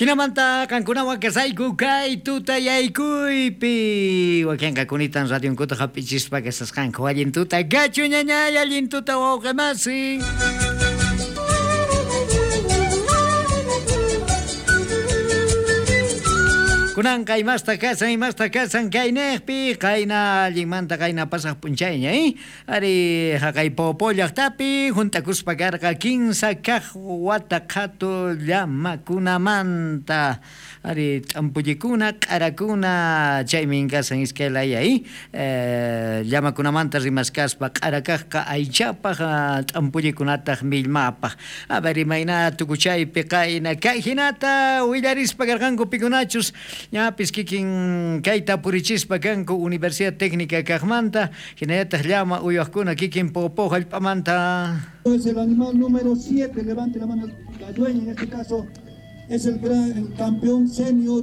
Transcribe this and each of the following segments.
Jinamanta qankunawan kasayku kay tutayaykuypi. Wakinqa kunitan radionkuta hap'ichispa kasasqanku. Allin tuta kachu ñañay, allin tuta wawqi masi. Kunanqa imasta kasan kaynejpi, qayna allinmanta qayna pasaj p'unchayña, Ari haqay Poopó llaqtapi hunt'akuspa karqa 15 kaq wata qhatu llamakunamanta. Ari t'ampullikuna, q'arakuna, chaymin kasan iskay laya, llamakunamanta rimaskaspa q'arakaqqa aychapaq, t'ampullikunataq millmapaq. A ver, imayna tukuchaypi qayna kay hinata willarispa karqanku pikunachus ñapis kikin kayta purichispa kanku Universidad Técnica kaqmanta, hinallataq llama uywaqkuna kikin Poopó hallp'amanta. Es el animal número 7, levante la mano la dueña en este caso, es el campeón senior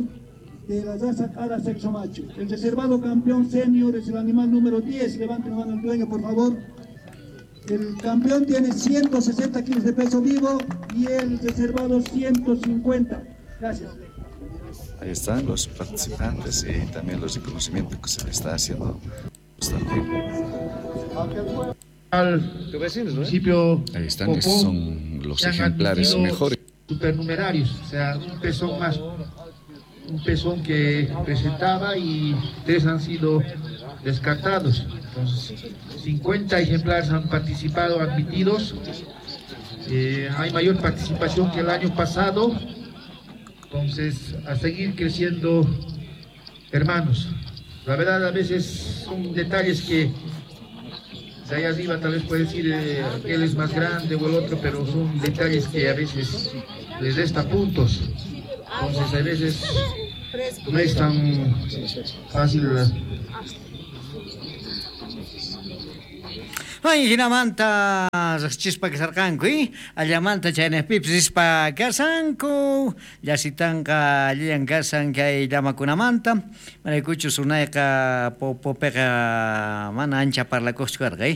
de la raza Cara sexo macho. El reservado campeón senior es el animal número 10, levante la mano el dueño por favor. El campeón tiene 160 kilos de peso vivo y el reservado 150. Gracias. Ahí están los participantes y también los reconocimientos que se le está haciendo. Al municipio Ahí están, Poopó, estos son los se han ejemplares admitido mejores. Supernumerarios, o sea, un pezón más, un pezón que presentaba y 3 han sido descartados. Entonces, 50 ejemplares han participado, admitidos. Hay mayor participación que el año pasado. Entonces, a seguir creciendo, hermanos. La verdad, a veces son detalles que de allá arriba tal vez puede decir aquel es más grande o el otro, pero son detalles que a veces les resta puntos. Entonces, a veces no es tan fácil. Ay, hinamanta riqchispa kasarqanku, allamanta chaynejpipis rispa kasanku, llasitanqa allillan kasan kay llamakunamanta, maraykuchus unayqa Poopopiqa mana ancha parlakuqchu karqa,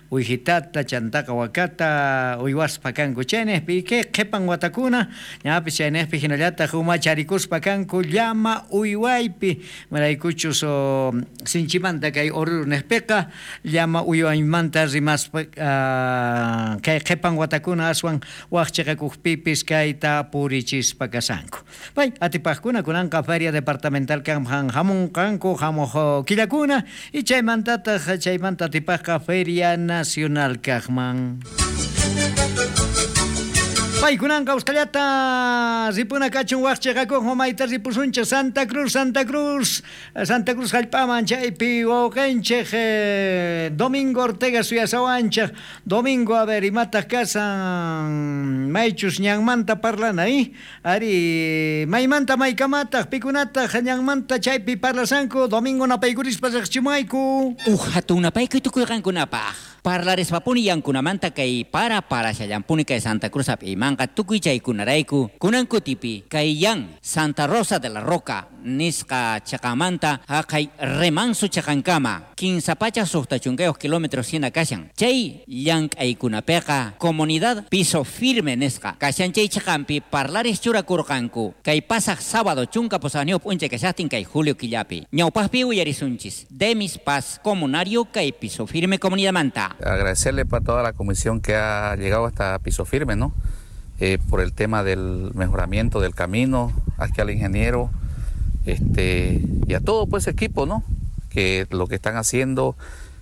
Uwijitata, chantaqa wakata uywaspa kanku chaynejpi, kay qhipan watakuna ñapis chaynejpi hinallataq umacharikuspa kanku llama uywaypi, maraykuchus sinchimanta kay Oruro nejpiqa llama uywaymanta rimaspa kay qhipan watakuna aswan waqchiqakuqpipis kayta purichispa kasanku. Pay atipaqkuna kunanqa feria departamental kanman hamunqanku hamuq killakuna y chaymantataq chaymanta atipaqqa feria nacional kaqman. Paykunanqa usqhallata ripuna kachun waqchiqakuq mayta ripusunchik Santa Cruz, Santa Cruz, Santa Cruz hallp'aman chaypi wawqinchik Domingo Ortega suyasawanchik. Domingo, a ver, imataq kasan maychus ñanmanta parlana, Ari, maymanta maykamataq pikunataq ñanmanta chaypi parlasanku. Domingo napaykurispa riqchimayku. Uj hatun napaykuy tukuyqankunapaq. Parlarispapuni yankunamanta kay para parashallampuni kay Santa Cruz hap'imanqa tukuy chaykunarayku kunankutipi kay yan Santa Rosa de la Roca nisqa chaqamanta haqay remanso chaqankama 15.62 kilómetros hina kashan chay llank'aykunapiqa comunidad piso firme nisqa kashan chay chaqampi parlaris churakurqanku kay pasaq sábado 18 p'unchay kashaqtin kay julio killapi ñawpaqpi uyarisunchis Demis Paz comunario kay piso firme comunidadmanta. Agradecerle para toda la comisión que ha llegado hasta Piso Firme, ¿no? Por el tema del mejoramiento del camino, aquí al ingeniero, y a todo pues equipo, ¿no? Que lo que están haciendo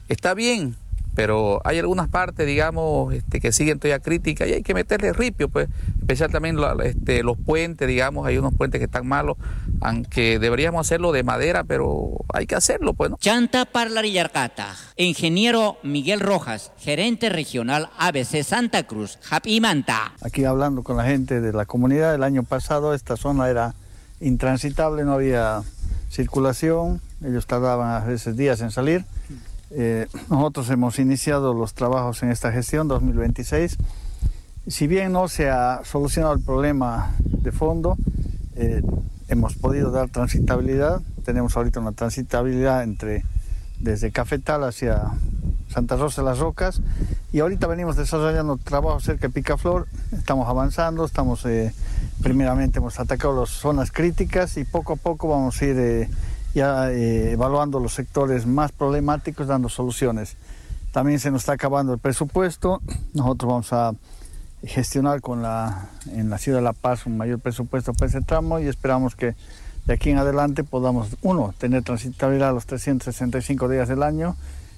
está bien, pero hay algunas partes, digamos, que siguen todavía críticas y hay que meterle ripio, pues, especial también los puentes, digamos, hay unos puentes que están malos, aunque deberíamos hacerlo de madera, pero hay que hacerlo, pues, ¿no? Chanta parlarillarqata, ingeniero Miguel Rojas, gerente regional ABC Santa Cruz, Japimanta. Aquí hablando con la gente de la comunidad, el año pasado esta zona era intransitable, no había circulación, ellos tardaban a veces días en salir. Nosotros hemos iniciado los trabajos en esta gestión 2026. Si bien no se ha solucionado el problema de fondo, hemos podido dar transitabilidad. Tenemos ahorita una transitabilidad desde Cafetal hacia Santa Rosa de las Rocas, y ahorita venimos desarrollando trabajo cerca de Picaflor. Estamos avanzando, estamos Primeramente hemos atacado las zonas críticas y poco a poco vamos a ir ya evaluando los sectores más problemáticos, dando soluciones. También se nos está acabando el presupuesto. Nosotros vamos a gestionar en la ciudad de La Paz un mayor presupuesto para ese tramo y esperamos que de aquí en adelante podamos, uno, tener transitabilidad los 365 días del año,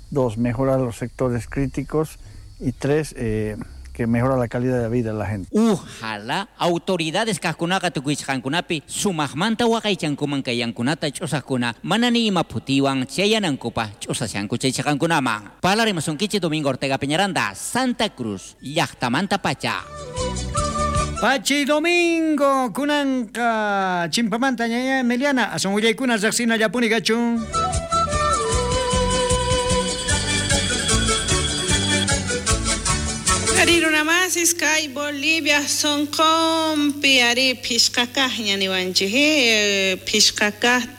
dos, mejorar los sectores críticos y tres, que mejora la calidad de vida de la gente. Ojalá autoridades kajkunaqa tukuychqankunapi sumaqmanta waqaychankuman kay yankunata ch'usaqkuna mana ni ima phutiwan chayanankupaq ch'usashanku chay chaqankunaman. Parlarimasunkichik Domingo Ortega Peñaranda, Santa Cruz, llaqtamanta pacha. Pachi Domingo, kunanqa chimpamanta ñaña Emiliana, asun willaykuna riqsinallapuni kachun. Arirunamasis kay Bolivia sonqonpi ari phishqakaqña niwanchik phishqakaq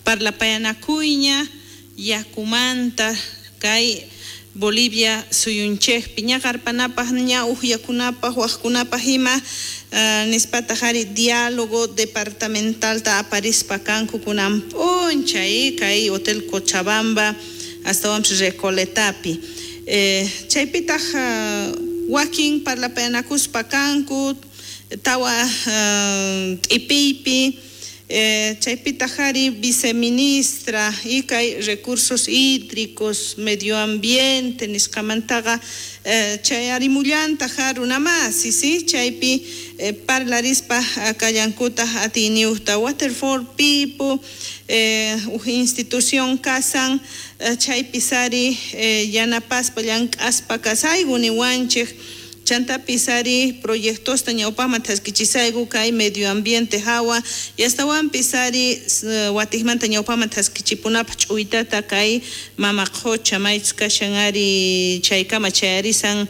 parlapayanakuyña yakumanta kay Bolivia suyunchikpi ñaqarpanapaq ña uqyakunapaq waqkunapaq ima nispataq ari diálogo departamentalta aparispa kanku kunan p'unchay kay Hotel Cochabamba astawanpis Recoletapi chaypitaq wakin parlapayanakuspa kanku tawa t'ipiypi chaypitaq ari viceministra y kay recursos hídricos medio ambiente nisqamantaqa chay arimullantaq runamasi si chaypi parlarispa kallankutaq atiyniyuqta Water for People uj institución kasan chaypis ari yanapaspa llank'aspa kasayku niwanchik chantapis ari proyectosta ñawpaqman thaskichisayku kay medio ambiente hawa y astawanpis ari watiqmanta ñawpaqman thaskichipunapaq ch'uytata kay mama qhucha maychus kashan ari chaykama chayarisan